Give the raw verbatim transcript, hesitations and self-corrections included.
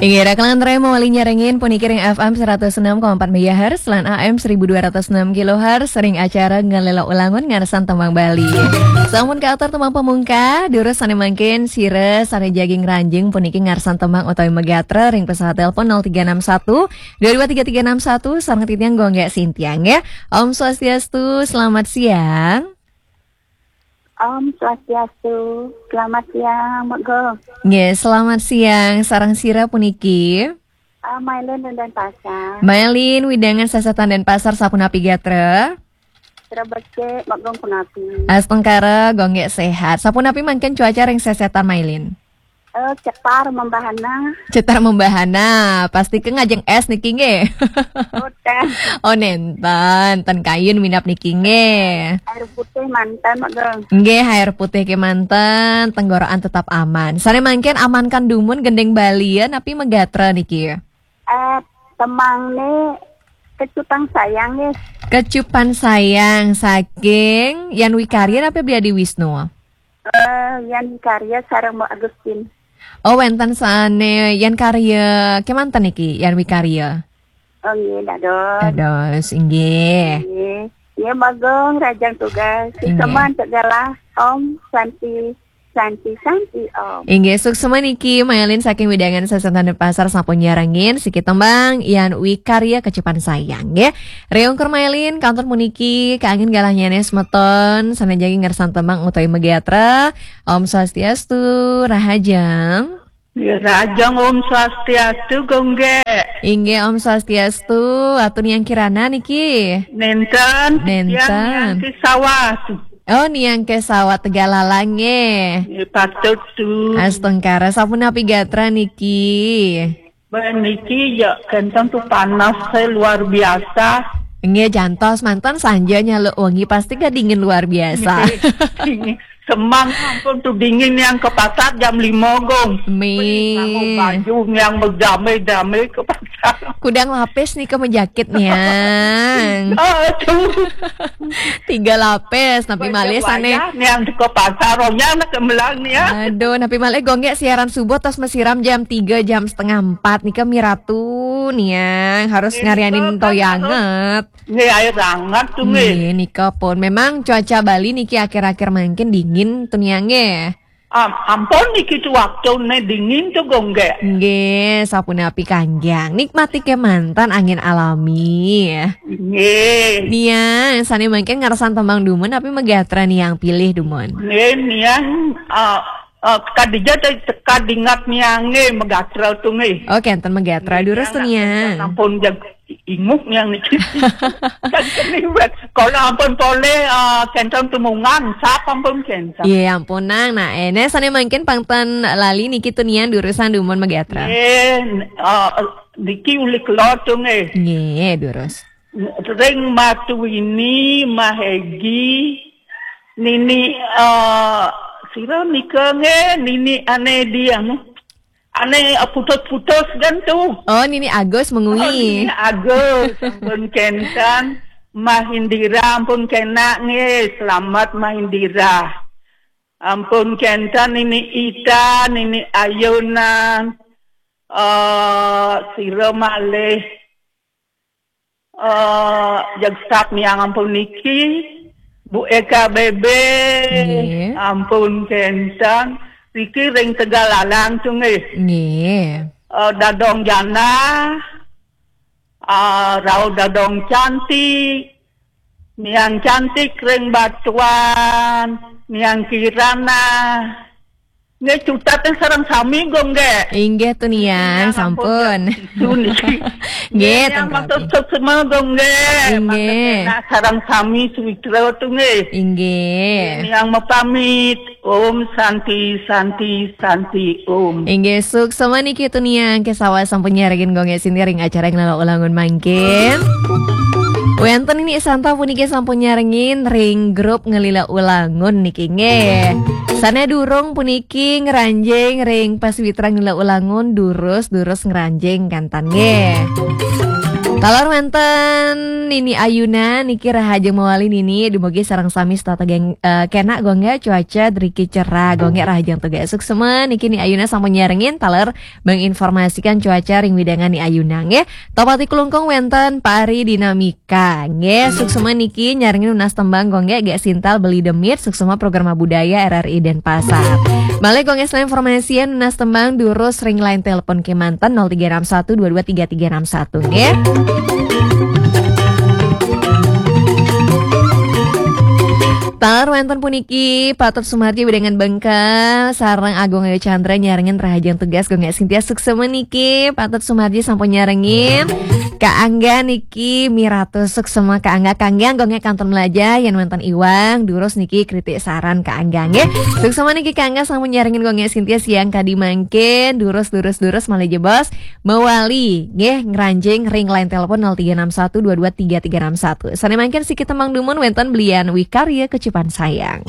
Inggih, kalangan rai mawali nyarengin puniki ring F M seratus enam koma empat megahertz lan A M seribu dua ratus enam kilohertz ring acara Ngelela Ulangun Ngarsan Tembang Bali. Sampun katur tembang pamungkah, durus sane mangkin sira sane jagi ngranjing puniki ngarsan tembang utawi magatra ring pesawat telepon nol tiga enam satu dua dua tiga tiga enam satu sareng titiang Gung Gek Sintiang ya. Om Swastiastu, selamat siang. Om Swastiastu. Selamat siang, Mak Gong. Nggih, selamat siang. Sareng sira puniki? Ah, Mailin dan Denpasar. Mailin, wewidangan sesetan Denpasar, sapunapi gatra? Sira becik, Mak Gong, punapi? Astungkara, Gung Gek sehat. Sapunapi mangkin cuaca ring sesetan, Mailin? Eh, cetar membahana. Cetar membahana, pasti ke ngajeng es niki nggih. Boten. Oh, nenten, ten kayun minab niki nggih. Air putih manten, Mak Gong. Nggih, air putih kemanten, tenggorokan tetap aman. Sane mangkin amankan dumun gending Bali ya, napi magatra niki? Eh, temangne Kecupan Sayang nggih. Kecupan Sayang saking Yan Wikarya napi Beli Adi Wisnu? Eh, Yan Wikarya sareng Mbok Agustin. Oh, wenten sane Yan Karya kemanten niki, Yan Wikarya? Oh, nggih, dados. Dados, inggih. Nggih. Nggih, Mak Gong, rahajeng tugas. Nggih. Suksma antuk galah. Om Santi, Santi, Santi, Om. Inggih, suksma niki, Mailin saking wewidangan sesetan Denpasar sampun nyarengin siki tembang Yan Wikarya Kecupan Sayang, nggih. Ring ungkur Mailin, kantun puniki, kaangin galahnyane semeton, sane jagi ngersan tembang utawi magatra. Om Swastiastu, rahajeng. Ya, rahajeng Om Swastiastu, Gung Gek. Inggih, Om Swastiastu, atur Niang Kirana niki? Nenten, Nenten. Niang Kesawat. Oh, Niang Kesawat Tegallalang nggih. Nggih, patut tu. Astungkara, sapunapi gatra niki? Bah, niki ya kenten tu panas, eh, luar biasa. Nggih, jantos manten sanja nyaluk wengi pasti ke dingin luar biasa. Nggih, dingin. Semang ampun tu dingin yang ke pasar jam lima, Gong. Mi. Nganggo baju yang berdame-dame ke pasar. Kudang lapis nika majakit niang. Aduh. Tiga lapis, tapi malih sane. Yang ke pasar, orangnya anak kemelang nih ya. Aduh, napi malih Gung Gek siaran subuh tos masiram jam tiga, jam setengah empat nika miratu niang. Harus ngarianin toyanget. Nggih, air hangat tuh, nggih. Nggih, nika pun. Memang cuaca Bali niki akhir-akhir mangkin dingin tuh niang nggih. Am-, ampun niki tuh waktu ne dingin tuh, Gung Gek. Nggih, sapunapi kangjang. Nikmati kemanten angin alami. Nggih. Niang, sane mangkin ngersan tembang dumun, tapi magatra niang pilih dumun. Nggih, niang, eh, eh, kadija te-, teka dingat niange magatra tuh, nggih. Oh, kenten magatra, durus tuh niang. Ampun, jag-, inguh niang niki. Kan kene wet. Kalau ampun polih, eh, kenten tumungan, sap ampun kenten. Iya, ampun, Nang. Nah, ene sane mangkin pang ten lali niki tuh niang durusan dumun magatra. Nggih, eh, niki uli kelor tuh, nggih. Nggih, durus. Ring Matuwini, Mahegi, Nini, eh, sira nika nggih, Nini ane di anu. Ane, eh, putus-putus kan tuh. Oh, Nini Agus mengui. Oh, Nini Agus, ampun kenten. Mahindira, ampun kenak nggih. Selamat Mahindira. Ampun kenten Nini Ita, Nini Ayunan. Eh, sira malih. Eh, jeg sap niang ampun niki, Bu Eka Bebe, nggih. Ampun kenten, niki ring Tegallalang tuh nggih. Nggih. Eh, Dadong Jana, eh, Rau Dadong Cantik, Niang Cantik ring Batuan, Niang Kirana, Nggih, cutet sareng sami, Gung, nggih. Inggih, tunian, sampun. Itu niki. Nggih, nggih, yang maksud semua, Gung, nggih. Inggih. Maksudnya, nak sareng sami, suwitra tu, nggih. Inggih. Yang mapamit, Om Santi, Santi, Santi, Om. Inggih, suksma niki tunian, kesawa sampun nyarengin, Gung, nggih, sini ring acara Ngelila Ulangun mangkin. Wenten ini santa puniki sampun nyarengin ring grup Ngelila Ulangun niki, nggih. Sane durung puniki ngranjing ring paswitra Ngelila Ulangun, durus-durus ngranjing kantan nggih. Taler wénten Nini Ayuna niki, rahajeng mawali Nini, dumugi sareng sami setata geng, eh, kena gongge cuaca driki cerah gongge, rahajeng tugas. Suksema niki Ni Ayuna sampun nyarengin taler menginformasikan cuaca ring wewidangan Ni Ayuna nggih. Topati Klungkung wénten Pak Ari Dinamika nggih. Suksema niki nyarengin nunas tembang gongge Gek Sintal Beli Demit, suksema Programa Budaya R R I Denpasar. Malih gongge selain informasian nunas tembang durus ring line telepon kemanten nol tiga enam satu dua dua tiga tiga enam satu nggih. Taler wénten puniki Patut Sumarji wewidangan Bengkel sareng Agung Ayu Chandra nyarengin rahajeng tugas gongge Sintia, suksema niki Patut Sumarji sampun nyarengin. Kak Angga niki miratus, suksema Kak Angga, Kak Angga gongge kantun melajah yen wénten iwang durus niki kritik saran Kak Angga nggih. Suksema niki Kak Angga sampun nyarengin gongge Sintia siang kadi mangkin, durus durus durus malih jebos mawali nggih ngranjing ring line telepon nol tiga enam satu dua dua tiga tiga enam satu. Sane mangkin siki tembang dumun wénten Belian Wikarya Kecupan Sayang.